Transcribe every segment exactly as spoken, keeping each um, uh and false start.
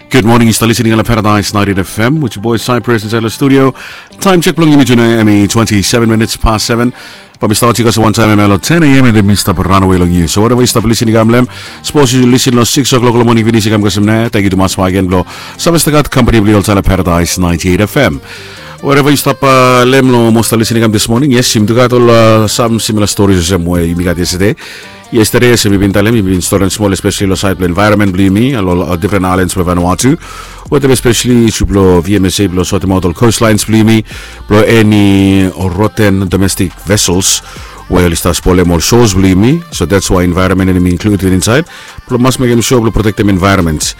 Good morning, yu stap listening long Paradise ninety-eight F M with your boy Cypress inside the studio. Time check blong yumi today, I mean, twenty-seven minutes past seven. But mi stap oti kasem wantaem em long ten a.m. and then mi stap ranawe long yu. So wherever yu stap listening kam long, sapos yu listen long six o'clock long morning finis i kam kasem nao, thank you tumas again blong save stap gat company blong yu oltaem long Paradise ninety-eight F M. Wherever yu stap long, most are listening kam this morning, yes, yumi tu gat ol sam similar stories olsem we yumi gat yesterday. Yesterday, as mi bin talem, mi bin storian smol, especially lo side blo environment blo yumi, lo different islands blo Vanuatu. Wetem especially issue blo V M S A blo sortimaot ol coastlines blo yumi, blo any rotten domestic vessels we oli stap spolem ol shores blo yumi. So that's why environment hemi included inside. Blo mas mekem sure blo protektem environment.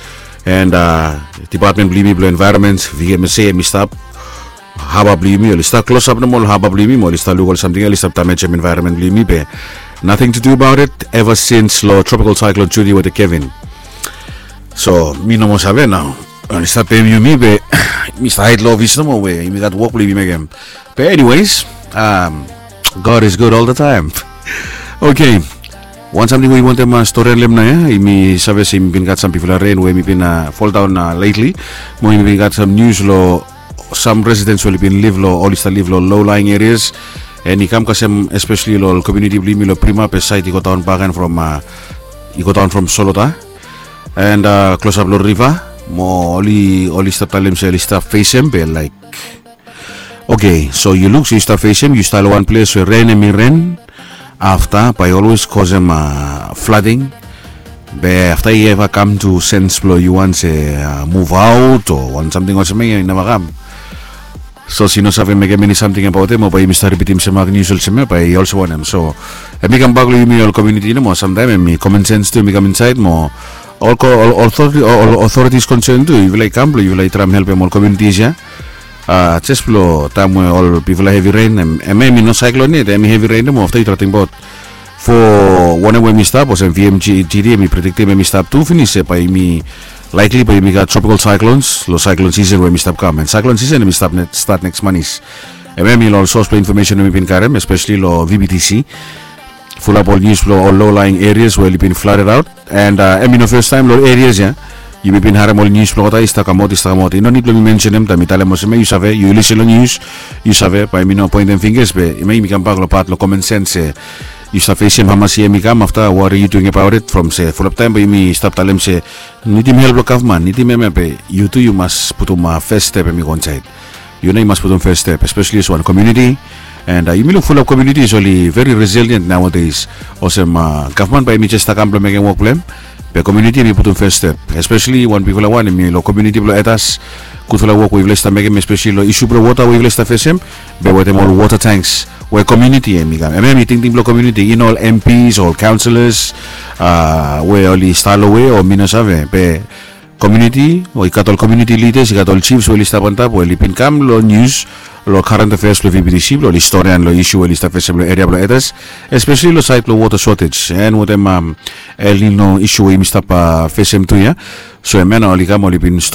And uh, department blo yumi blo environment, V M S A, hemi stap haba blo yumi, oli stap klosap nomo lo haba blo yumi, mo oli stap luk ol samting ia oli stap damejem environment blo yumi be nothing to do about it ever since lo Tropical Cyclone Judy wetem Kevin. So mi no moa save nao. Oli stap pem yumi be mi stap haed lo ofis nomo we yumi gat wok blo yumi mekem. Be anyways, um, God is good all the time. Okay. Wan samting we yumi wantem storian long hem nao ia, yumi save se yumi bin gat sam bigfala ren we yumi bin foldaon lately. Mo yumi bin gat sam nius lo sam residents we oli bin liv lo, oli stap liv lo low lying areas. And i kam kasem especially lo ol community blo yumi lo Prima be side i go daon baken from, i go daon from Solota. And klosap lo riva, mo oli, oli stap talem se oli stap fesem be laik, okay, so yu luk se yu stap fesem, yu stap lo wan ples we ren hemi ren. Afta bae i olwes kosem flooding. Be afta i eva kam tu sens blo yu wan se muv aot o wan samting olsem ia, i neva kam. So se yu no save mekem eni samting abaot hem o bae yumi stap ripitim sem mak nius olsem ia, bae i olsem wanem. So hemi kambak lo yumi ol community nomo, samtaem hemi common sense tu hemi kam insaed mo ol authorities concern tu, yufala i kam blo yufala i traem helpem ol communities ia. Jes blo taem we ol bigfala hevi ren, hemia hemi no cyclone yet, hemi hevi ren nomo, afta yu traem tingbaot fo wanem we hemi stap, olsem V M G D hemi prediktem hemi stap tu finis, se bae yumi likely bae yumi gat tropical cyclones lo cyclone season we hemi stap kam. And cyclone season hemi stap, stat next month. Hemia hemi lo ol source blo information we mi bin karem, especially lo V B T C. Fulap ol nius blo ol low lying areas we oli bin flooded out. And hemi no fastaem lo ol areas ia yumi bin harem ol nius blo olgeta i stap kamaot, i stap kamaot. I no nid blo mi mensenem taem mi talem olsem ia, yu save, yu lisen lo nius, yu save, bae mi no poentem fingers be hemia yumi kambak lo pat lo common sense se yu stap fesem hamas ia hemi kam, afta what are you doing about it? From se fulap taem bae yumi stap talem se nidim help lo gavman, nidim hemia be yu tu yu mas putum fes step hemi go insaed. Yu nao yu mas putum fes step, especially olsem wan community. And yumi luk fulap communities oli very resilient nowadays. Olsem gavman bae hemi jes stap kam blo mekem wok blo hem, be community hemi putum fes step. Especially wan bigfala wan hemi lo community blo Etas. Gudfala wok we yufala i stap mekem, especially lo isu blo wota we yufala i stap fesem, be wetem ol water tanks we community hemi kam. Hemia hemi tingting blo community, i no ol M Ps o ol councillors we oli stap lo we o mi no save, be community, o i gat ol community leaders, i gat ol chiefs we oli stap antap we oli bin kam lo nius lo current affairs blo V B T C blo oli storian lo isu we oli stap fesem lo eria blo Etas, especially lo saed blo water shortage and wetem El Nino isu we yumi stap fesem tu ia. So hemia nao oli kam, oli bin